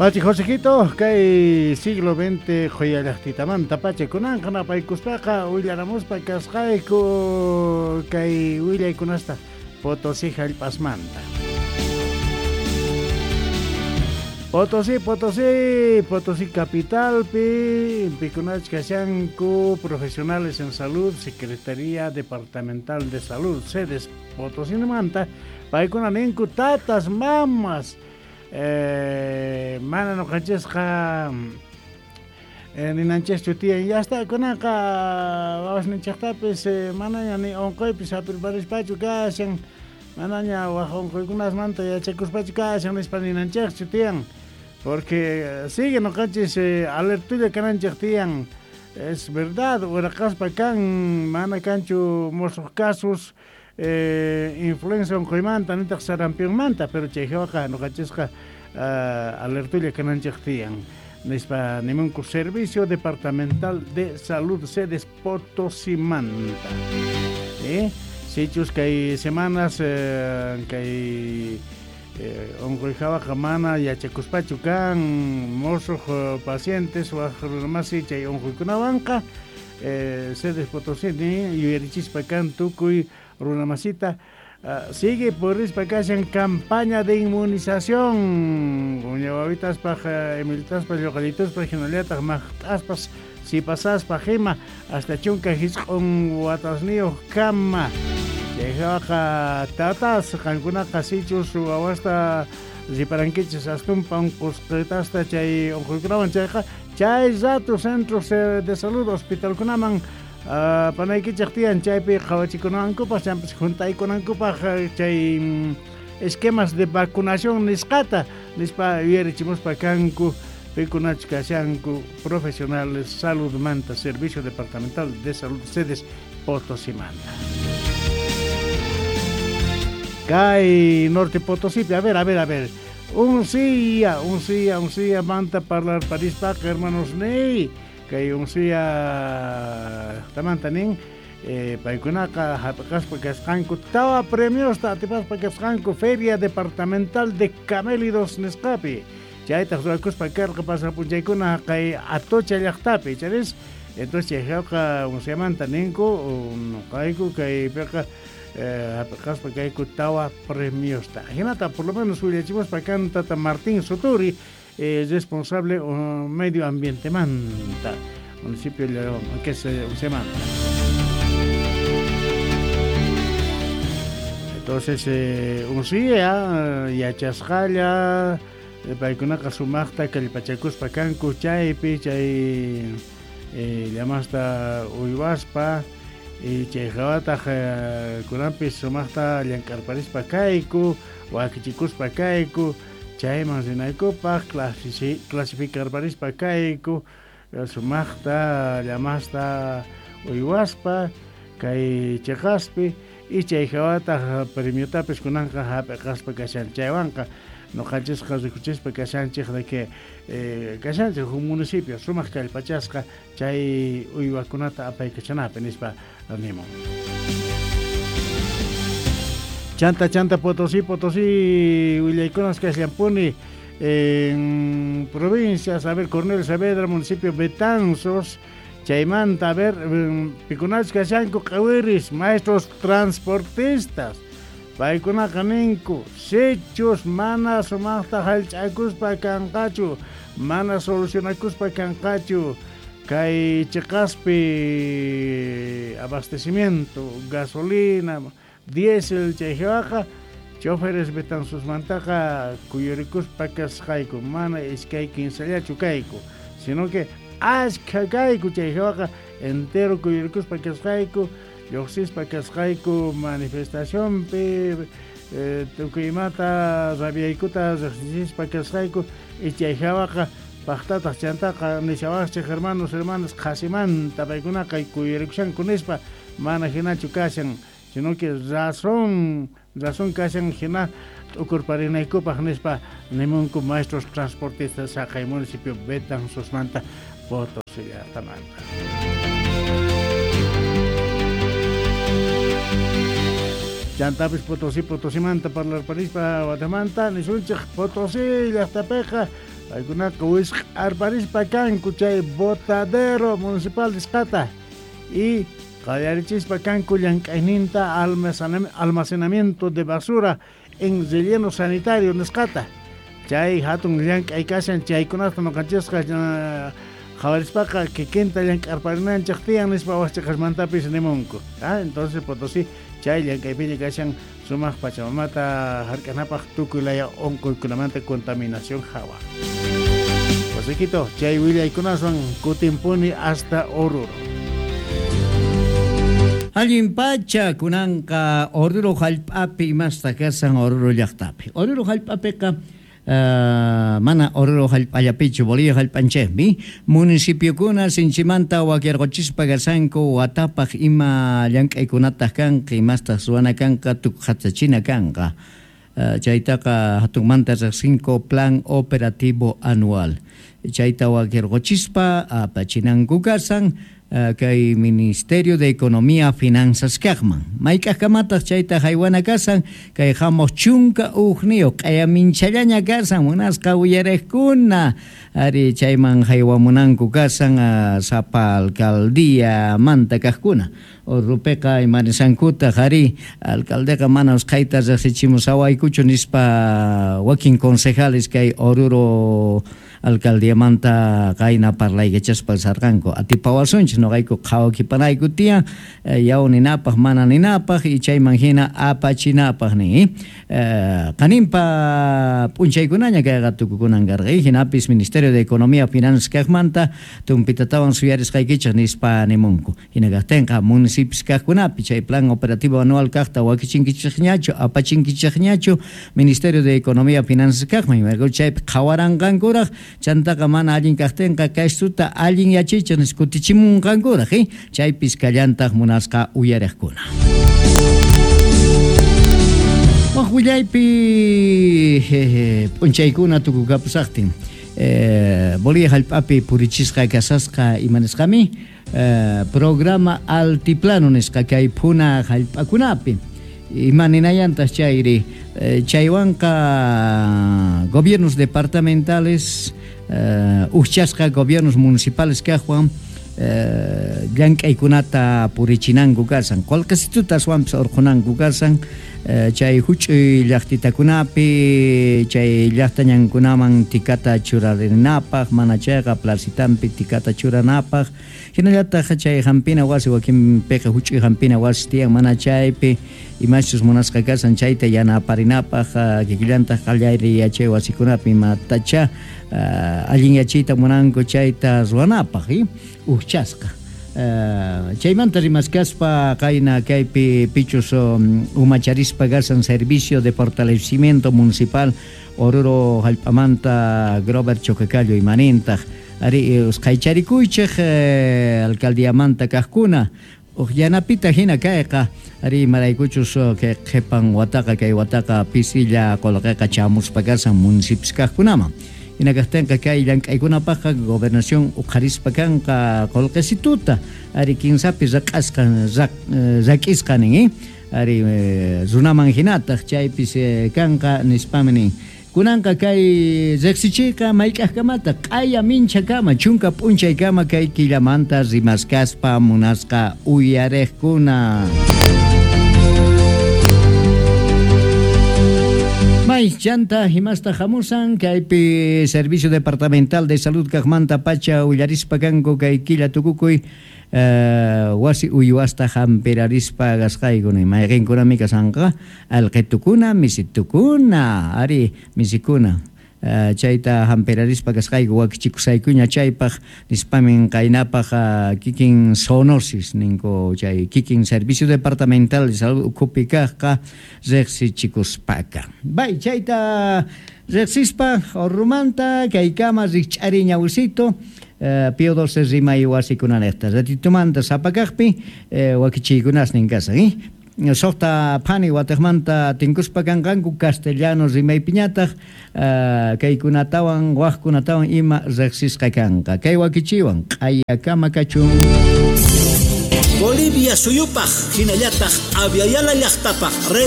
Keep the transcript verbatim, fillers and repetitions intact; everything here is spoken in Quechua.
Pachi Josejito, kay siglo veinte qhuyallaqtitamanta pacha kunanqa napaykuspaqa willaramuspa kasqayku kay willaykunasta Potosí hallp'asmanta. Potosí, Potosí, Potosí capitalpi, pikunach kashanku, profesionales en salud, Secretaría Departamental de Salud, sedes Potosí manta, paykuna ninku tatas, mamas, eh, mana nuqanchisqa eh, ninanchischu tiyan, ya está kunanqa wawasninchaqtapis eh, manaña ni unquypis hap'irparispachu kashan, manaña waj unquykunasmanta yachakuspachu kashan nispa ninanchikchu tiyan, porque sigue nuqanchis eh, alertulla kananchik tiyan, es verdad, uraqaspa kan mana kanchu musuq casos eh, influenza unquymanta nitaq sarampionmanta, pero chay hawaqa nuqanchisqa uh, alertulla kananchik tiyan nispa nimunku Servicio Departamental de Salud sedes Potosimanta. ¿Eh? Sichus kay semanas eh, kay eh, unquy hawaqa mana yachakuspachu kan musuq pacientes waj runamasi chay unquykunawanqa eh, sedes Potosí ni yuyarichispa kan tukuy runamasita. Uh, sigue purispa kashan campaña de inmunización uñawawitaspa emiltaspa lluqallituspa hinallataq maqt'aspas sipasaspa hima hasta chunka hisq'un watasniyuq kama chay hawaqa tatas qankunaqa sichus wawasta riparankichis astumpa unqusqitasta chay unquykunawan chayqa chay rato centros de salud hospitalkunaman Uh, panaykichik tiyan chaypi qhawachikunankupaq champis juntaykunankupaq chay esquemas de vacunación nisqata nispa yuyarichimuspa kanku pikunach kashanku profesionales salud manta Servicio Departamental de Salud sedes Potosimanta. Kay Norte Potosí, a ver, a ver, a ver, uncia, uncia, uncia manta parlar parispaqa hermanos ney kay uncia tamanta nin eh, paykunaqa hap'aspa kasqanku tawa premiosta atipaspa kasqanku Feria Departamental de Camélidos nisqapi chaytaq ruwakuspa karqa pasapunchaykuna kay Atocha llaqtapi charis entonces chay hawqa unciamanta ninku nuqayku kaypiqa eh, hap'aspa kayku tawa premiosta hinata por lo menos willachimuspa kan tata Martín Soturi eh, responsable uh, medio ambiente manta municipio de que se manta. Entonces eh, uncia yachasqalla paykunaqa sumaqta kallpachakuspa kanku chaypi chay eh, llamasta uywaspa y chay hawataq eh, kunanpis sumaqta llank'arparispa kayku wakichikuspa kayku chayman rinaykupaq clasificarparispa kayku sumaqta llamasta uywaspa kay chiqaspi y chay hawataq premiotapis kunanqa hap'iqaspa kashan chaywanqa nuqanchisqa rikuchispa kashanchik de que eh, kashanchik huk municipio sumaq kallpachasqa chay uywakunata apaykachanapi nispa nimun. Chanta, chanta, Potosí, Potosí, willaykunas kasllampuni en provincias, a ver, Cornelio Saavedra, municipio Betanzos, chaymanta, a ver, pikunach kashanku q'awiris, maestros transportistas, paykunaqa ninku, sichus mana sumaqta hallch'akuspa kanqachu, mana solucionakuspa kanqachu, kay chiqaspi abastecimiento, gasolina, diésel chay hawaqa choferes Betanzosmantaqa kuyurikuspa kasqayku mana iskay kinsallachu kayku sino que ashkha kayku chay hawaqa entero kuyurikuspa kasqayku lluqsispa kasqayku manifestacionpi eh, tukuy imata rabiaykuta riqsichispa kasqayku y chay hawaqa paqtataq chantaqa nishawaqchik hermanos hermanas qhasimanta paykunaqa kuyurikushanku nispa mana hinachu kashan sino que razón, razón kashan hina t'ukurparinaykupaq nispa nimunku maestros transportistas haqay municipio Betanzosmanta Potosí llaqtamanta. Chantapis Potosí, Potosimanta parlarparispa watamanta nisunchik Potosí llaqtapiqa Paykunaqa wisq'arparispa kanku chay botadero municipal nisqata y qallarichispa kanku llank'ayninta almacenamiento de basura en relleno sanitario nisqata. Chay hatun llank'ay kashan chaykunata ñuqanchisqa qhawarispaqa kikinta llank'arparinanchik tiyan nispa wasichaqasmantapis nimunku. Ah, entonces Potosí chay llank'aypiña kashan sumaq pachamamata hark'anapaq tukuy laya unquykunamanta contaminación hawa. Wasiquito, chay willaykunaswan kutimpuni hasta Oruro. Allin pacha kunanqa Oruro hallp'api imasta kasan Oruro llaqtapi. Oruro hallp'apiqa Uh, mana Oruro hallp'allapichu Bolivia hallp'anchikmi municipiokuna sinchimanta wakirquchispa kasanku watapaq ima llank'aykunataq kanqa imastaq ruwana kanqa tukuqhatachina kanqa. Uh, chaytaqa hatunmanta riqsinku plan operativo anual. Chayta wakirquchispa apachinanku kasan uh, kay Ministerio de Economía Finanzas kaqman. Mayk'aqkamataq chayta haywana kasan kay hamuq chunka uqniyuq q'ayaminchallaña kasan munasqa uyariqkuna ari chayman haywamunanku kasan uh, sapa alcaldía manta kaqkuna. Orupeqa imanisankutaq ari alcaldeqa mana usqhayta riqsichimusawaykuchu nispa wakin concejales kay Oruro alcaldiamanta qayna parlaykachaspa sarqanku atipawasunchis noqayku qhawakipanayku tiyan yaw ninapaq mana ninapaq y chayman hina apachinapaq nin. Qaninpa p'unchaykunaña kayqa tukukunan karqa hinapis Ministerio de Economía Finanzas kaqmanta tumpitatawan suyarisqaykichik nispa nimunku. Hina kaqtinqa municipios kaqkunapi chay plan operativo anual kaqta wakichinkichikñachu apachinkichikñachu Ministerio de Economía Finanzas kaqman chaypi qhawaranqankuraq chantaqa mana allin kaqtinqa kaystuta allin yachichik niskutichimunqankuraq eh? Chaypis kallantaq munasqa uyariqkuna. Waq willaypi p'unchaykuna tukukapusaqtin eh, Bolivia hallp'api purichisqa kasasqa imanisqami eh, programa altiplano nisqa kay phuna hallp'akunapi ima ninayantaq chayri eh, chaywanqa gobiernos departamentales eh, ujchasqa gobiernos municipales kaqwan eh, llank'aykunata purichinanku kasan qullqisituta aswanpis urqunanku kasan eh, chay huch'uy llaqtitakunapi chay llaqtañankunaman tikata churarinapaq mana chayqa placitampi tikata churanapaq hinallataq chay hampina wasi wakinpiqa huch'uy hampina wasi tiyan mana chaypi imachus munasqa kasan chayta yanaparinapaq kikillantaq qallari yachay wasikunapi imatacha uh, allin yachayta munanku chayta ruwanapaq eh? Ujchasqa uh, chaymanta rimaskaspa qayna kaypi pichus um, umacharispa kasan servicio de fortalecimiento municipal Oruro hallp'amanta Grover Choquecallo imanintaq ari usqhaycharikuychik eh, alcaldiamanta kaqkuna uq yanapita hina kayqa ari imaraykuchus kay qhipan wataqa kay wataqa pisilla qullqiqa chamuspa kasan municipios kaqkunaman. Hina kaqtinqa kay llank'aykunapaqqa gobernación uqharispa kanqa qullqisituta ari kinsapi raq'asqa rak'isqa nin eh? Ari runaman hinataq chaypis kanqa nispami nin. Kunanqa kay riqsichiyqa mayk'aqkamata q'aya minchakama chunka p'unchaykama kay killamanta rimaskaspa munasqa uyariqkuna. May chanta himasta hamusan kaypi Servicio Departamental de Salud kaqmanta pacha willarispa kanku kay killa tukukuy Uh, wasi uywasta hampirarispa gasqaykuna mayqinkunami kasanqa alqitukuna misitukuna ari misikuna uh, chayta hampirarispa kasqayku wakichikusaykuña chaypaq nispamin qaynapaq uh, kikin zoonosis ninku chay kikin Servicio Departamental de Salud ukhupi kaqqa riqsichikuspaka. Bay chayta riqsispa Orrumanta kaykama rikch'ari ñawsito Uh, Pío doce rimay wasikunanejta ratitumanta sapakaqpi eh, wakichiykunasnin kasan eh? Soqta phani wataqmanta tinkuspa kanqanku castellano rimaypiñataq uh, kaykunatawan waqkunatawan ima riqsisqa kanqa kay wakichiwan q'ayakama kachun. Bolivia suyupaq hinallataq Aviala llaqtapaq.